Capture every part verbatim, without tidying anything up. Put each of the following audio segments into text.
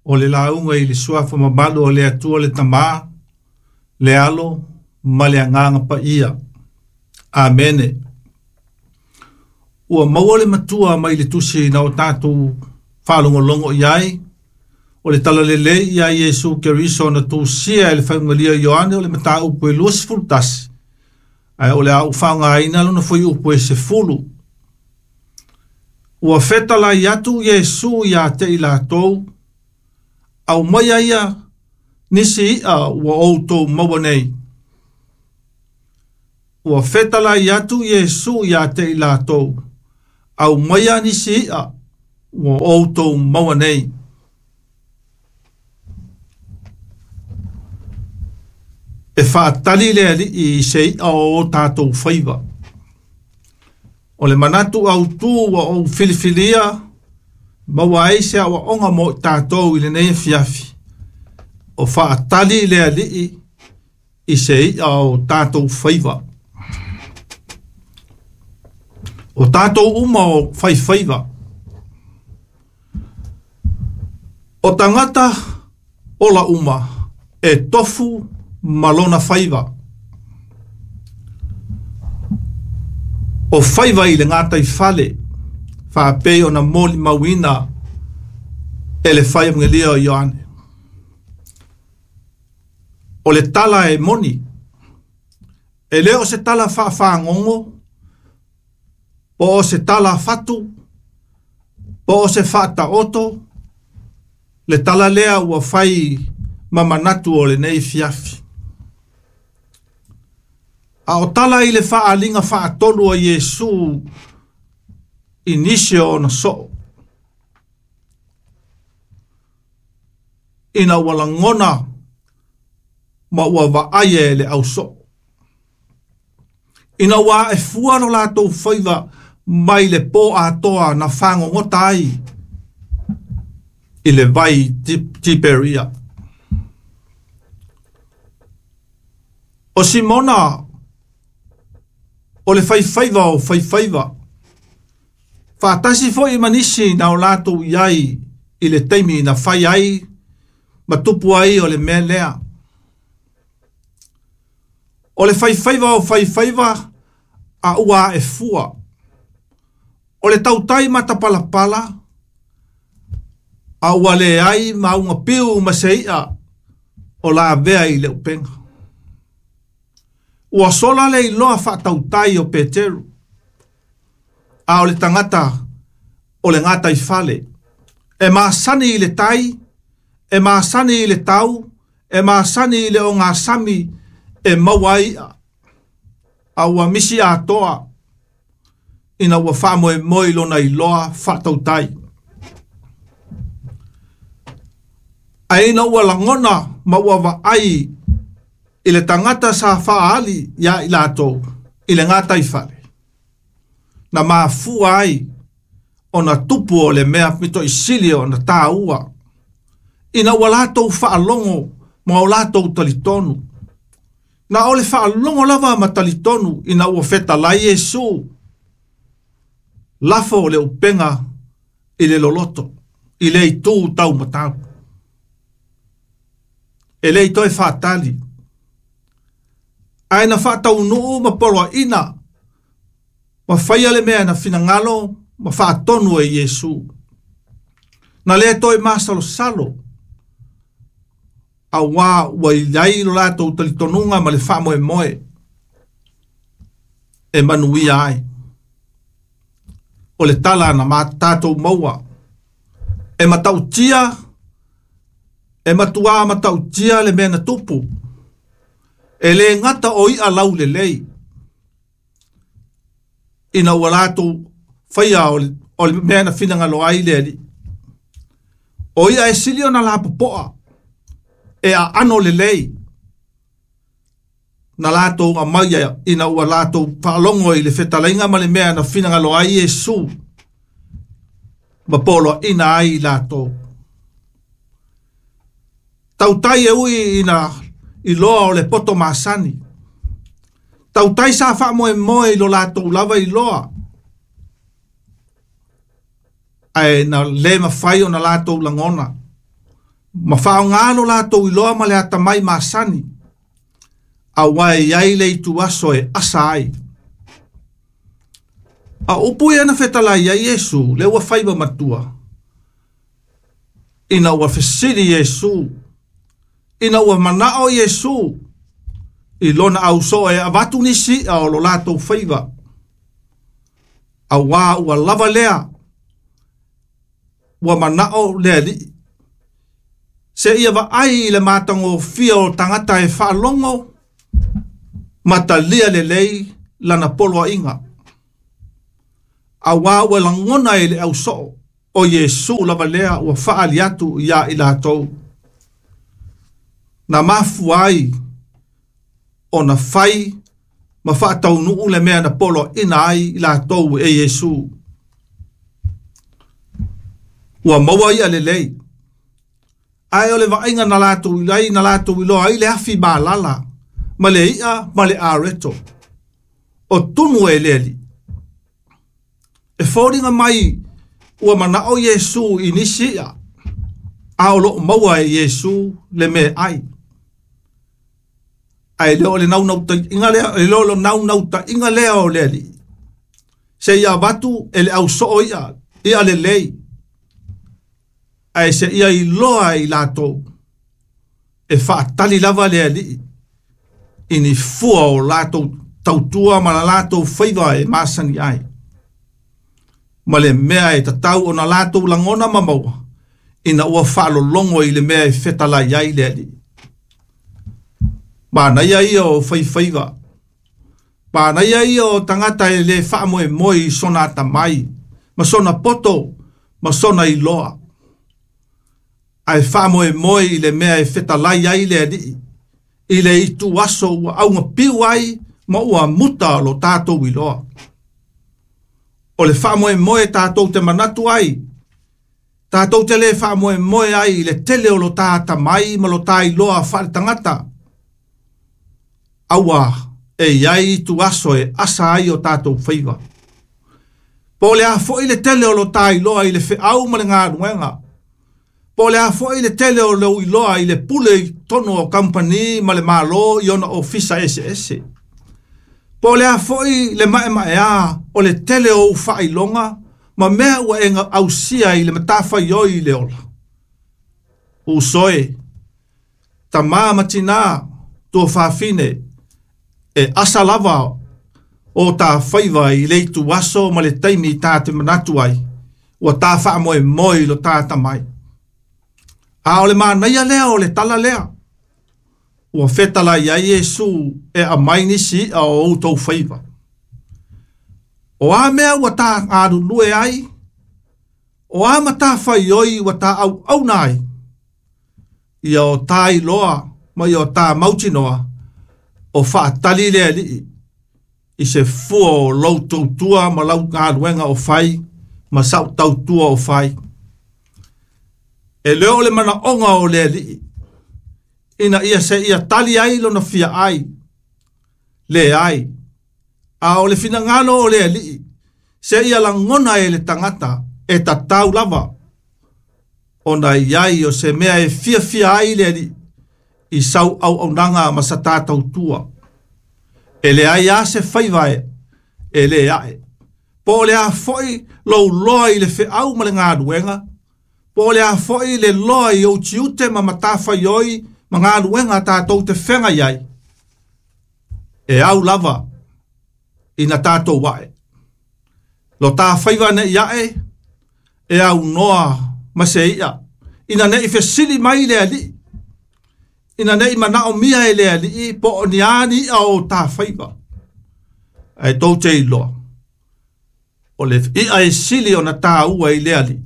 O le lauga i le suafa mamalu o le Atua le Tamā, le Alo ma le Agaga Paia. Amene. Ua maua le matua mai le tusi na o tatou faalogologo i ai, o le talalelei ia Iesu Keriso na tusia e le faaugalia Ioane o le mataupu e luasefulu tasi, ae o le a ou faaaogaina lona fuaiupu e sefulu. Ua fetalai atu Iesu ia te i latou, aumaia ia nisi i'a ua outou maua nei. Ua fetalai atu Iesu ia te i latou, aumaia nisi i'a ua outou maua nei. E faatali le alii i se i'a o o tatou faiva. O le manatu autū ua ou filifilia, maua ai se aoaoga mo i tatou i lenei afiafi. O faatali le alii i se i'a o tatou faiva. O tatou uma o faifaiva. O tagata ola uma e tofu ma lona faiva. O faiva i le gataifale, faapei ona molimauina e le faiamugelia o Ioane. O le tala e moni, e le o se tala faafagogo, po o se tala fatu, po o se faataoto, le tala lea ua fai ma manatu o lenei fiafi. A o tala i le faaliga faatolu a Iesu i nisi o ona soo. Ina ua lagona ma ua vaaia e le ausoo. Ina ua aefua lo latou faiva mai le po atoa na fagogota ai i le vai Tiperia. O Simona o le faifaiva o faifaiva, faatasi foi ma nisi na o latou i ai i le taimi na fai ai ma tupu ai o le mea lea. O le faifaiva o faifaiva a ua aefua. O le tautai matapalapala a ua leai mauga piu ma se i'a o lavea i le upega. Ua sola le iloa faatautai o Peteru, a o le tagata o le gataifale. E masani i le tai, e masani i le tau, e masani i le ogasami e maua ai i'a. A ua misi atoa ina ua faamoemoe i lona iloa faatautai. Ae ina ua lagona ma ua vaai i le tagata sa faaali ia i latou i le gataifale, na mafua ai ona tupu o le mea pitoisili ona tāua, ina ua latou faalogo ma o latou talitonu. Na o le faalogo lava ma talitonu ina ua fetalai Iesu, lafo o le upega i le loloto, i le itu taumatau. E le i toe faatali, ae na faataunuu ma poloaina, ma faia le mea na finagalo ma faatonu e Iesu. Na le toe masalosalo, auā ua i ai lo latou talitonuga ma le faamoemoe e manuia ai. O le tala na ma tatou maua, e matautia, e matuā matautia le mea na tupu. E le gata o i'a laulelei, ina ua latou faia o le, o le mea na finagalo ai le alii. O ia e sili ona lapopoa, e aano lelei, na latou amaia ina ua latou faalogo i le fetalaiga ma le mea na finagalo ai Iesu, ma poloaina ai i latou. Tautai e ui ina iloa o le poto masani. Tautai sa faamoemoe i lo latou lava iloa, ae na le mafai ona latou lagona. Ma whaongalo lātou iloa ma le atamai masani, a wai ai le itu aso e asa ai. A upu ia na fetalai ai Iesu, le ua faiva matua. Ina ua fesili Iesu, ina ua manao Iesu, i lona auso e avatu nisi a o lo lātou faiva. A wā ua lava lea, ua manao le alii. Se ia va ai i le mātango fia o tangata e whaalongo, matalia le lei lana poloa inga. A wā ua langona e le auso o Iesu lava lea ua whaali atu ia i lātou. Na mafu ai o na whai ma whaataunuu le mea na polo ina ai i lātou e Iesu. Ua maua ia le lei. Ai o le vainga na lātou ilai na lātou iloa ai le afi malala, ma le ia ma le areto. O tunu e leli. E fōringa mai ua manao Iesu i nisi ia. A o loo maua e Iesu le me ai. Ai leo le naunau inga lea, e leo le naunau inga lea o le ali. Se ia vatu e le au soo ia, ia le lei. Ai se ia iloa i lātou. E whaatali lava le ali. Ini fua o lātou tautua ma la lātou faiva e masani ai. Ma le mea e tatau o na lātou langona mamaua. Ina ua whaalolongo i le mea e fetalai ai le ali. Mānaia ia o whaiwhaiva. Mānaia ia o tangata e le whaamoe moi i sona atamai. Ma sona poto, ma sona iloa. Ai whaamoe moi i le mea e fetalai ai le alii. I le itu aso ua aunga piu ai ma ua muta lo tātou iloa. O le whaamoe moe tātou te manatu ai. Tātou te le whaamoe moe ai i le tele o lo tātamai ma lo tā iloa whaale tangata. Aua e iai tu aso e asa ai o tātou whaiva. Po le a foi le tele o lo tā iloa i le wheau ma le ngā nuenga. Po le a foi le tele o le iloa i le pule i tono o kampani ma le malo i ona ofisa ese ese. Po le a foi le mae mae a o le tele o whailonga ma mea ua enga ausia i le matawhai oi i le ola. Usoe, tamā matinā tua whawhine e asa lava o tā whaiva i leitu aso ma le taimi tā te manatu ai, ua tā whaamoe moi lo tā tamai. A o le mānaia lea o le tala lea. Ua whetala ia Iesu e a mai nisi a o outou whaiva. O a mea ua tā ngārulue ai, o a matawhai oi ua tā au auna ai, ia o tā iloa ma ia o tā mautinoa, o whaatali le alii, i se fua o lau tautua ma lau ngāluenga o whai, ma sau tautua o whai. E leo le mana onga o le alii, ina ia se ia tali ai lona fia ai, le ai, a o le finangalo o le alii, se ia langona e le tangata, e tatau lava, ona iai o se mea e fia fia ai le alii, i sau au aunanga ma sa tātou tua. E le ai a se whaiva e, e le ae. Po le a foi lou loa i le wheau ma le ngāluenga, po le a foi le loa i o tiute ma matawhai oi ma ngāluenga tātou te whenga iai. E au lava ina tātou wae. Lo tā whaiva ne iae, e au noa ma se ia. Ina ne i fesili mai le alii. Ina nei manao mia e le alii po o ni ani a o tā whaiva. Ai tau te iloa. O le ia e sili o na tā ua i le alii.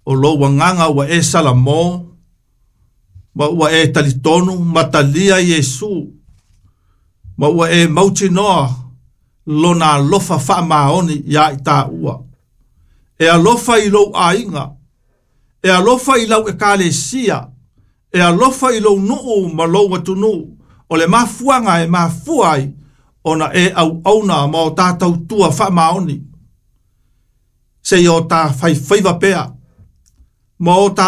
O lo wanganga ua e Salamo, ma ua e talitonu, matalia Iesu, ma ua e mautinoa lona alofa whaamaoni ia i tā ua. E alofa i lou ainga, e alofa i lau ekalesia, e alofa i lou nuu ma lou atunu, o le mafuanga e mafua ai, ona e au auna ma o tātou tua whaamaoni. Se i o tā whaiwhaiva pea, Ma o tā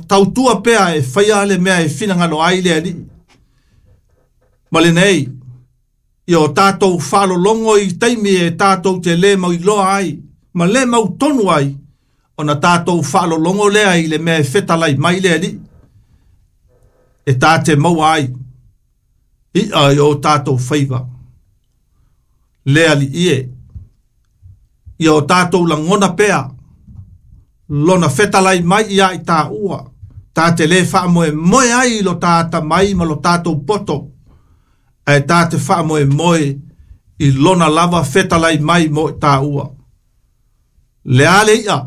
tautua pea e whaia le mea e finangalo ai le ali. Ma le nei, i o tātou whalolongo i taimi e tātou te le mau iloa ai, ma le mau tonu ai, ona tātou whalolongo lea i le mea e fetalai mai le ali. E tā te maua ai, i ai o tātou whaiva. Le ali ie, i o tātou langona pea, lona fetalai mai ia i tā ua, tā te le whaamoe moe ai lo tāta mai ma lo tātou poto, e tā te whaamoe moe i lona lava fetalai mai mo i tā ua. Le ale ia,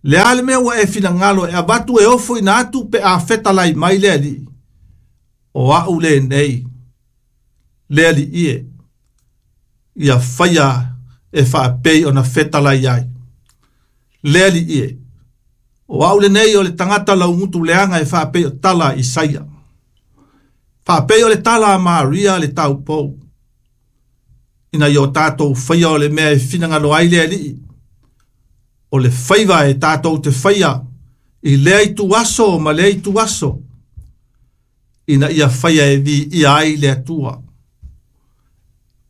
le ale mea ua e finangalo e avatu e ofo ina atu pe a fetalai mai le ali, o au le nei, le ali ie, ia whaia e whaapei ona fetalai ai. Le ali ie, o au le nei o le tangata laungutu leanga e whaapei o tala Isaia. Whaapei o le tala a Maria le taupou. Ina i o tātou whaia o le mea e finangalo ai le ali. O le whaiva e tātou te whaia i lea i tu aso ma lea i tu aso. Ina ia whaia e vi ia ai le atua.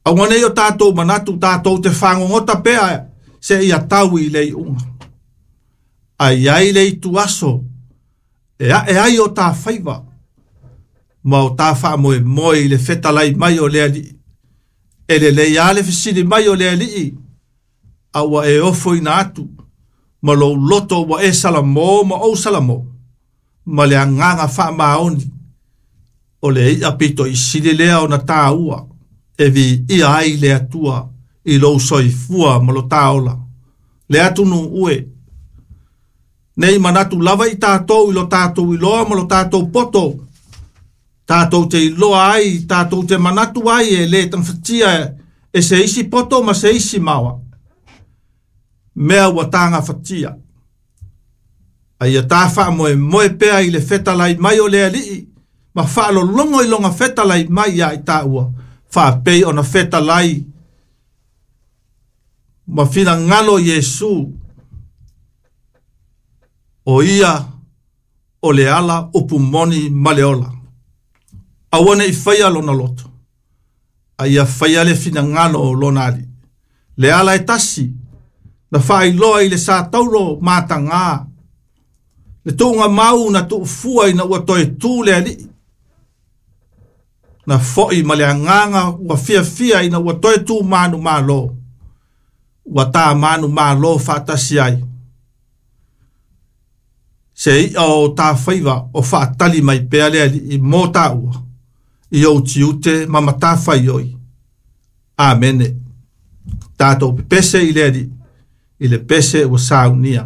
Aua nei o tātou manatu tātou te whangongota pea se ia tau i le unga. Ai ai le i tu aso e a e ai o tā whaiva. Ma o tā whaamoe moe i le fetalai mai o le ali. E le lei ale fisili mai o le ali. Aua e ofo ina atu. Ma lo loto ua e salamo ma o salamo. Ma le anganga whaamaoni. O le ia pito i sili lea o na tā ua. E vi ia ai le atua i lou soifua ma lo tāola. Le atunu ue. Nei manatu lava i tātou i lo tātou i loa ma lo tātou poto. Tātou te iloa ai, tātou te manatu ai e le tangwhatia e se isi poto ma se isi maua. Mea ua tānga whatia. Ai a tā whaamoe moe pea i le fetalai mai o le alii, ma whaalolongo i longa fetalai mai ia i tāua. Whaapei ona fetalai ma finangalo Iesu. O ia o le ala upu moni ma le ola. Aua nei whaia lona loto. A ia whaia le finangalo o lona ali. Le ala e tasi, na whailoa i le sa taulo mātangā. Le tuunga mau na tuufua ina ua toe tū le ali. Na foi ma le anganga ua fia fia ina ua toe tū manu malo. Ua tā manu malo whaatasi ai. Se ia o tā whaiva o whaatali mai pea le ali i mō tāua. I au tiute ma matawhai oi. Amene. Tātou pepese i le ali. I le pese ua saunia.